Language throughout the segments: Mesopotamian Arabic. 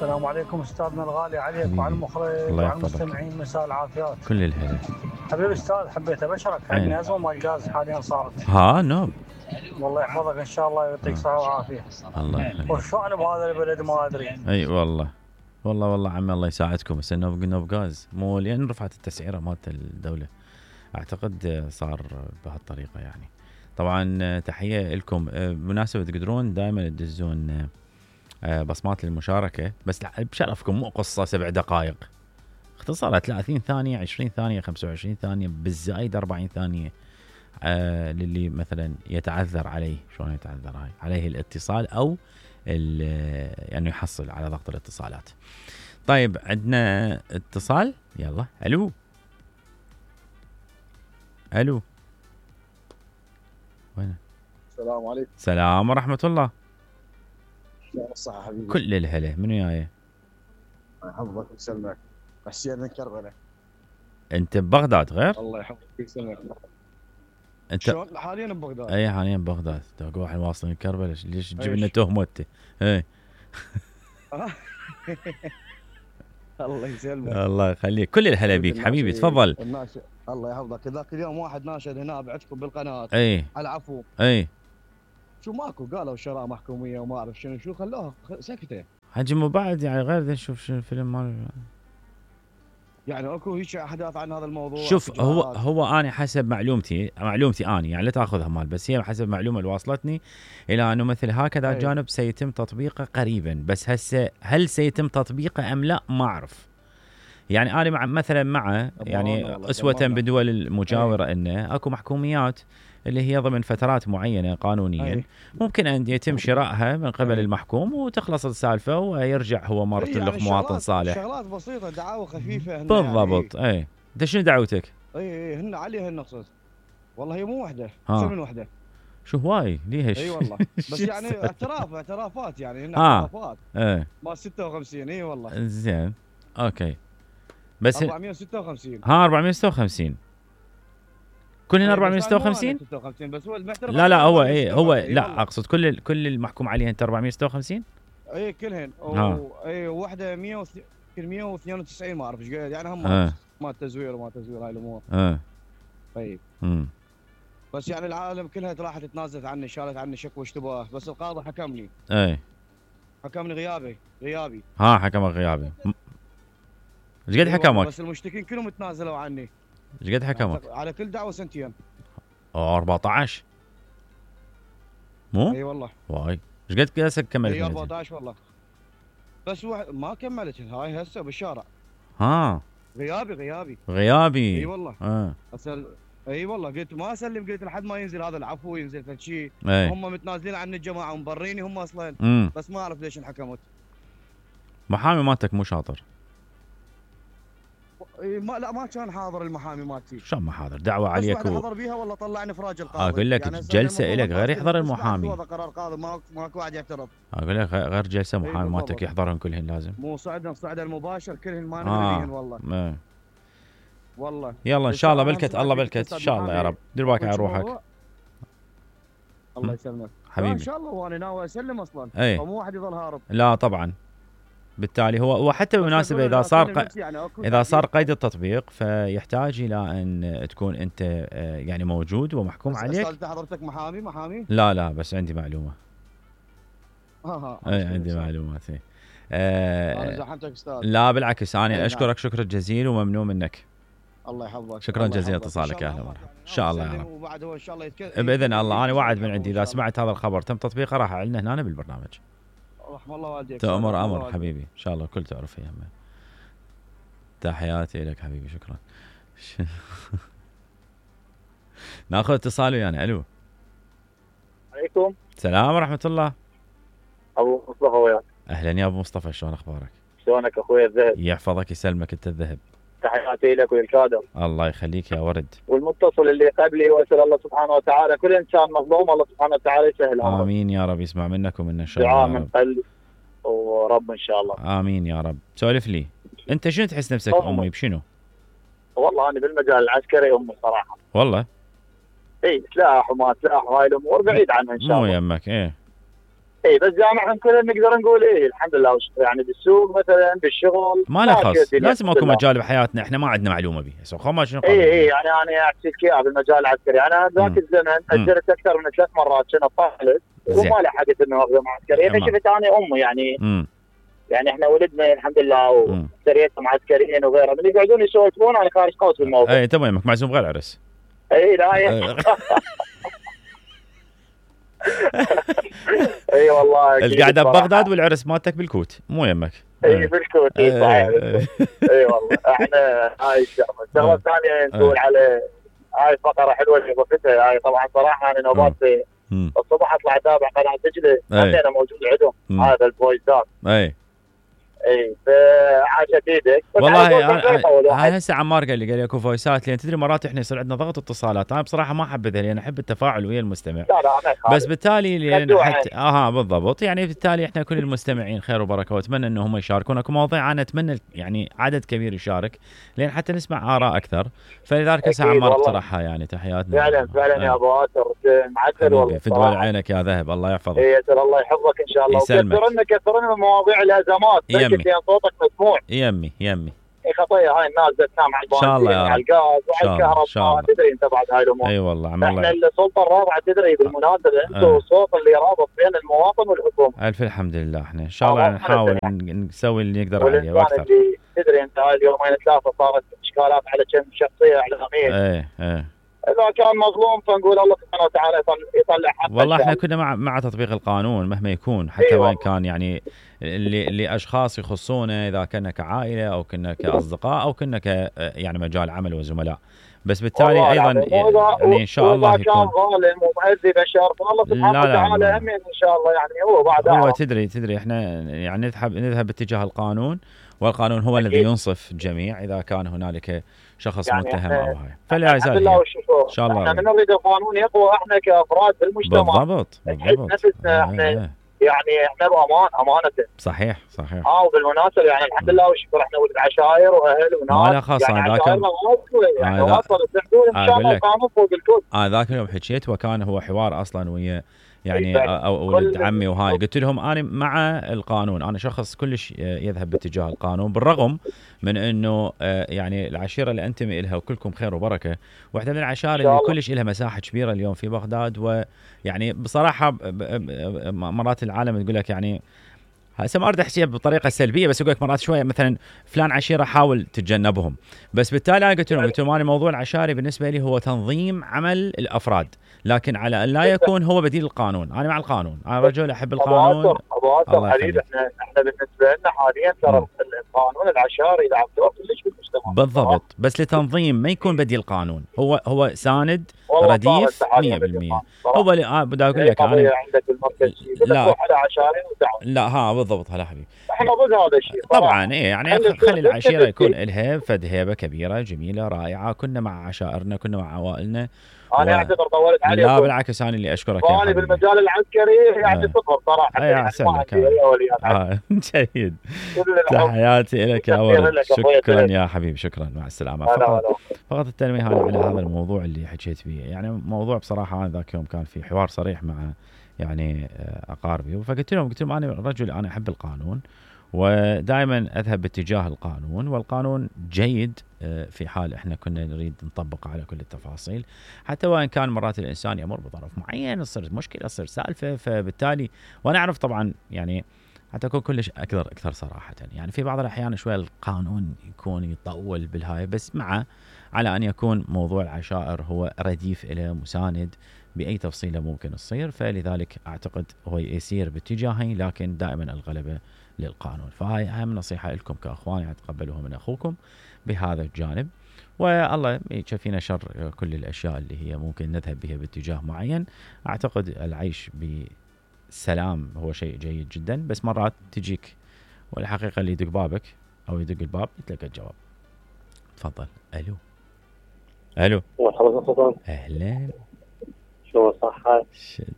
السلام عليكم استاذنا الغالي، عليك حبيبي. وعلى المخرج الله وعلى يحفظك. المستمعين، مساء العافيات. كل الهلا. حبيبي استاذ، حبيت ابشرك عندنا ازمه مال الغاز حاليا صارت. ها نوب. والله يحفظك ان شاء الله ويعطيك صحه وعافيه. الله يخليك. وشلون بهذا البلد ما ادري. اي والله عمي الله يساعدكم. بس نوب غاز مو لان رفعت التسعيره مالت الدوله، اعتقد صار بهالطريقه يعني. طبعا تحيه لكم. بمناسبه تقدرون دائما تدزون بصمات للمشاركه، بس بشرفكم مو قصه 7 دقائق، اختصارها 30 ثانيه 20 ثانيه 25 ثانيه بالزايد 40 ثانيه. للي مثلا يتعذر عليه، شلون يتعذر هاي عليه الاتصال او يعني يحصل على ضغط الاتصالات. طيب عندنا اتصال، يلا. الو وين؟ السلام عليكم. السلام ورحمه الله. يا الصحة حبيبي. كل الهلا. منو جاي؟ يحفظك ويسلمك. حسين من كربلاء. انت ببغداد غير؟ الله يحفظك ويسلمك. انت شلون حاليا ببغداد؟ اي حاليا ببغداد. تقول واحد واصل من كربلاء، ليش تجيب لنا ايش؟ تهمه انت؟ اي الله يسلمك. الله يخليك. كل الهلا بيك حبيبي، تفضل. الله يحفظك. ذاك اليوم واحد ناشد هنا بعدكم بالقناه اي على عفو. اي شو ماكو، قالوا شراء محكوميه وما اعرف شو خلوها سكته. حجم بعد يعني غير نشوف شو الفيلم مال. يعني اكو هيك احداث عن هذا الموضوع. شوف هو انا حسب معلومتي اني يعني لا تاخذها مال، بس هي حسب المعلومه اللي واصلتني الى انه مثل هكذا جانب سيتم تطبيقه قريبا، بس هسه هل سيتم تطبيقه ام لا ما اعرف. يعني انا مع يعني اسوه بدول المجاوره انه اكو محكوميات اللي هي ضمن فترات معينه قانونيا ممكن ان يتم شرائها من قبل المحكوم وتخلص السالفه ويرجع هو مرتلق يعني مواطن صالح. شغلات بسيطه، دعاوى خفيفه بالضبط. يعني انت شنو دعوتك؟ هن عليها النقصد. والله هي مو وحده، من وحده. شو هواي ليش؟ اي والله. بس يعني اعترافات يعني هن اعترافات. ما 56. اي والله. زين اوكي. بس 456. 456 كلهن 456 بس هو المحترف. لا هو لا اقصد كل المحكوم عليها انت 456. اي كلهن. اي وحده 192 ما اعرف ايش قاعد يعني هم ما تزوير هاي الامور. طيب. بس يعني العالم كلها راحت تنازلت عني، شالت عني شكوى اشتباه، بس القاضي حكمني. حكمني غيابي. حكمك غيابي. ايش قد حكمك؟ بس المشتكين كلهم تنازلوا عني. ايش قد حكمك؟ على كل دعوه 2 سنين. 14 مو؟ اي والله. واي ايش قد كاسك كملت؟ 14 والله. بس ما كملت هاي هسه بالشارع. غيابي. اي والله. اي والله قلت ما اسلم، قلت لحد ما ينزل هذا العفو، ينزل فد شيء. هم متنازلين عن الجماعه ومبريني هم اصلا. بس ما اعرف ليش انحكمت. محامي مالتك مو شاطر. ما كان حاضر المحامي مالتي. شلون ما حاضر؟ دعوه عليك حضر بيها والله طلعني افراج القاضي. اقول لك يعني جلسه الك غير يحضر المحامي. هذا قرار قاضي ماكو واحد يعترض. اقول لك غير جلسه محامي مالتك يحضرهم كلهن لازم. مو صعد المباشر كلهن ما ندريهن والله. والله يلا ان شاء الله بلكت الله بلكت ان شاء الله يا رب. دير بالك على روحك. الله يسلمك حبيبي. ان شاء الله. وانا ناوي اسلم اصلا. مو واحد يظل هارب. لا طبعا. بالتالي هو حتى بالمناسبه اذا صار قيد التطبيق فيحتاج الى ان تكون انت يعني موجود ومحكوم عليك. انت حضرتك محامي؟ لا بس عندي معلومه. عندي معلومات. انا زحمتك استاذ. لا بالعكس انا اشكرك شكر جزيل وممنون منك. الله يحفظك. شكرا جزيلا اتصالك. اهلا ومرحبا. ان شاء الله يا رب. وبعد هو ان شاء الله باذن الله. انا وعد من عندي اذا سمعت هذا الخبر تم تطبيقه راح اعلنه هنا بالبرنامج. رحم الله والديك. تأمر امر حبيبي. ان شاء الله الكل تعرف يا همه. تحياتي لك حبيبي. شكرا. ناخذ اتصال ويانا. الو. عليكم السلام ورحمه الله. ابو مصطفى وياك. اهلا يا ابو مصطفى، شلون اخبارك؟ شلونك اخوي الذهب؟ يحفظك يسلمك انت الذهب. تحياتي لك وللكادر. الله يخليك يا ورد. والمتصل اللي قبلي واسال الله سبحانه وتعالى كل انسان مظلوم الله سبحانه وتعالى يسهل امره. امين يا رب. يسمع منك ومنا ان شاء الله. دعاء من قلب ورب ان شاء الله. امين يا رب. سولف لي انت شنو تحس نفسك امي بشنو؟ والله انا بالمجال العسكري امي صراحه. والله؟ اي سلاح وما سلاح وهاي الامور بعيد عنها ان شاء الله. مو يمك. اي بس جامعهم كلنا نقدر نقول الحمد لله يعني بالسوق مثلا بالشغل ما له خاص، لازم اكو مجال بحياتنا احنا ما عندنا معلومه به هسه خما شنو اي يعني انا احكي لك اياها بالمجال العسكري. انا ذاك الزمن اجرت اكثر من 3 مرات كنت طالب وما لحقت انه اخذ معسكري. انا شفت انا امي يعني احنا ولدنا الحمد لله وسريتنا معسكريين وغيرها من يقعدون يسولفون انا خارج قوس بالموضوع. اي تمامك معزوم غير عرس. اي لا اي والله القعده ببغداد والعرس مالتك بالكوت مو يمك. اي بالكوت اي صحيح. اي والله احنا هاي الشغله الثانيه نقول على هاي فقره حلوه اللي ضفتها هاي. طبعا صراحه انا نوبات الصبح اطلع اتابع قناه دجله انا موجود عندهم هذا الفويسات. اي فعاشت ايدك والله. هاي هسه عمار قال لي اكو فويسات لان تدري مرات احنا يصير عندنا ضغط اتصالات. انا بصراحه ما احبذها لان احب التفاعل ويا المستمع. لا بس بالتالي لان حتى بالضبط يعني بالتالي احنا كل المستمعين خير وبركه واتمنى ان هم يشاركون. اكو مواضيع انا اتمنى يعني عدد كبير يشارك لان حتى نسمع اراء اكثر. فلذلك هسه عمار اقترحها يعني. تحياتنا فعلا يا ابو واسر معسل والله في دول عينك يا ذهب. الله يحفظك. الله يحفظك ان شاء الله. وكثر لنا مواضيع الازمات صوتك مسموع. يمي خطيه هاي الناس سامع ان شاء الله على الغاز وعلى الكهرباء. تدري انت بعد هاي الامور. اي والله احنا السلطه الرابعه تدري بالمناسبه انتم الصوت اللي رابط بين المواطن والحكومه. الف الحمد لله. احنا ان شاء الله نحاول نسوي اللي نقدر عليه واكثر. تدري انت هاي اليومين ثلاثه صارت اشكالات على كم شخصيه اعلاميه. إذا كان مظلوم فنقول الله سبحانه وتعالى يطلع حقه. والله احنا كنا مع تطبيق القانون مهما يكون حتى وين كان يعني لاشخاص يخصونا اذا كنا كعائله او كنا كاصدقاء او كنا يعني مجال عمل وزملاء. بس بالتالي ايضا يعني ان شاء الله يكون كان ظالم ومؤذي بشر فالله سبحانه وتعالى هم ان شاء الله يعني هو بعد هو تدري احنا يعني نذهب باتجاه القانون والقانون هو الذي ينصف الجميع اذا كان هنالك شخص يعني متهم او هاي. فلا يزال ان شاء الله احنا نريد القانون يقوى احنا كافراد بالمجتمع. بالضبط نفسنا احنا يعني احنا امانه. صحيح. وبالمناسبه يعني الحمد لله والشكر احنا ولد عشائر واهل وناس. ما له خاصه يعني ذاك يعني وصلت الحدود ان شاء الله القانون فوق الكل. ذاك اليوم حكيت وكان هو حوار اصلا ويا يعني او ولد عمي وهاي. قلت لهم انا مع القانون. انا شخص كلش يذهب باتجاه القانون بالرغم من انه يعني العشيره اللي انتمي لها وكلكم خير وبركه واحده من العشائر اللي كلش لها مساحه كبيره اليوم في بغداد. ويعني بصراحه مرات العالم تقول لك يعني هسه ما اريد احكيها بطريقه سلبيه بس اقول لك مرات شويه مثلا فلان عشيره حاول تتجنبهم. بس بالتالي انا قلت لهم انا موضوع العشائري بالنسبه لي هو تنظيم عمل الافراد لكن على ان لا يكون هو بديل القانون. انا مع القانون. انا رجل احب القانون. ابو حبيبي احنا بالنسبه لنا حاليا ترى القانون العشائري يلعب دور كلش بالمجتمع. بالضبط. بس لتنظيم ما يكون بديل القانون. هو ساند رديف 100%. هو اللي بدي اقول لك انا عندك المركز لا على عشائري لا بالضبط. هلا حبيبي احنا ضد هذا الشيء طبعا. يعني خلي العشيره يكون لها فد هيبه كبيره جميله رائعه. كنا مع عشائرنا كنا مع عوائلنا. انا اعتذر طولت عليك. لا بالعكس انا اللي اشكرك يا حبيبي. بالمجال العسكري يعني صفر صراحه. يا سلامك. جيد. تحياتي لك يا ولد. شكرا يا حبيبي. شكرا مع السلامه. فقط التنويه على هذا الموضوع اللي حكيت فيه. يعني موضوع بصراحه انا ذاك يوم كان في حوار صريح مع يعني اقاربي. فقلت لهم انا رجل انا احب القانون ودائما اذهب باتجاه القانون والقانون جيد في حال احنا كنا نريد نطبق على كل التفاصيل حتى وان كان مرات الانسان يمر بظرف معين تصير مشكله تصير سالفه. فبالتالي وانا اعرف طبعا يعني حتى اكون كلش اكثر صراحه يعني في بعض الاحيان شويه القانون يكون يطول بالهاي بس مع على ان يكون موضوع العشائر هو رديف له مساند باي تفصيله ممكن تصير. فلذلك اعتقد هو يسير باتجاهين لكن دائما الغلبه للقانون. فهاي اهم نصيحه لكم كاخوان يعني تقبلوها من اخوكم بهذا الجانب. والله يكفينا شر كل الاشياء اللي هي ممكن نذهب بها باتجاه معين. اعتقد العيش بسلام هو شيء جيد جدا بس مرات تجيك والحقيقه اللي يدق بابك او يدق الباب يتلقى الجواب. تفضل. الو اهلا. شو صحة؟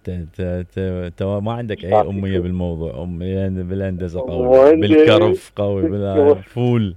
انت ما عندك اي اميه بالموضوع. اميه بالهندسه قوي بالكرف قوي بالفول.